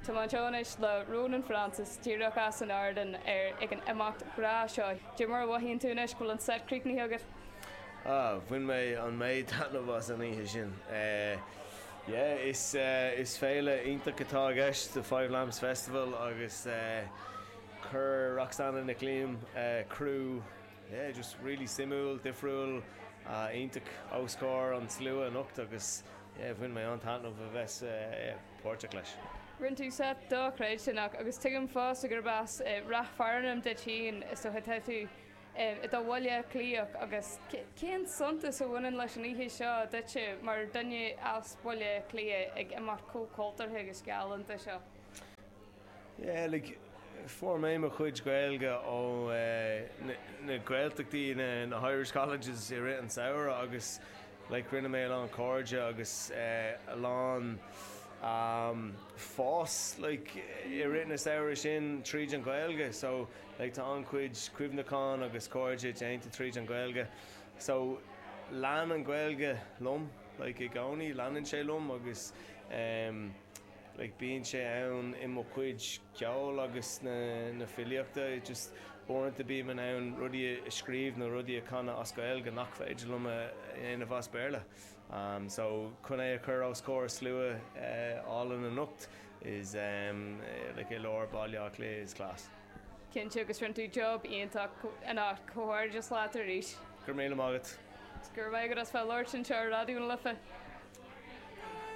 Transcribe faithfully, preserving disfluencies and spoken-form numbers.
Tá anois le Ronan Francis díreach as an ardán ar ag an imeacht breá seo. Cad é mar a mhothaíonn tú anois go bhfuil an set críochnaithe agat? Ah, bhain mé an méid taitneamh as an oíche sin. Uh, yeah, is uh, is féile iontach atá i gceist the Five Lamps Festival agus uh, chuir Roxanna Nic Liam uh, crew yeah, just really suimiúil, difriúil uh, iontach os comhair an slua anocht agus yeah, bhain mé an taitneamh a bheith uh, páirteach leis. Rinne tú set dochreidte agus tuigim fosta gurb as Ráth Fearnáin duit féin is tá tú i do Bhaile Átha Cliathach agus cén suntas a bhaineann leis an oíche seo duitse mar duine as Baile Átha Cliath ag imeacht chomh cultúrtha agus galánta seo. Yeah, like, fuair mé mo chuid Gaeilge ó uh, na Gaeltachtaí na, na Irish Colleges i rith an samhradh agus like, rinne mé a lán cairde agus uh, a lán um, fás like, i rith na samhradh sin tríd an Gaeilge, so like, tá an-chuid cuimhneachán agus cairde déanta tríd an Gaeilge. So lean an Gaeilge liom like, i gcónaí leanann sé liom agus um, like, bíonn sé ann i mo chuid ceol agus na, na filíochta just uaireanta bím in ann rudaí a scríobh nó rudaí a chanadh as Gaeilge nach féidir liom a dhéanamh as Béarla. Um, so chun é a chur os comhair slua uh, álainn anocht is um, like, i lár Baile Átha Cliath is class. Cinnte agus rinne tú job iontach anocht comhghairdeas leat arís. Gur mé agat. Gur mé go as fe lort sin seo Raidió na Life.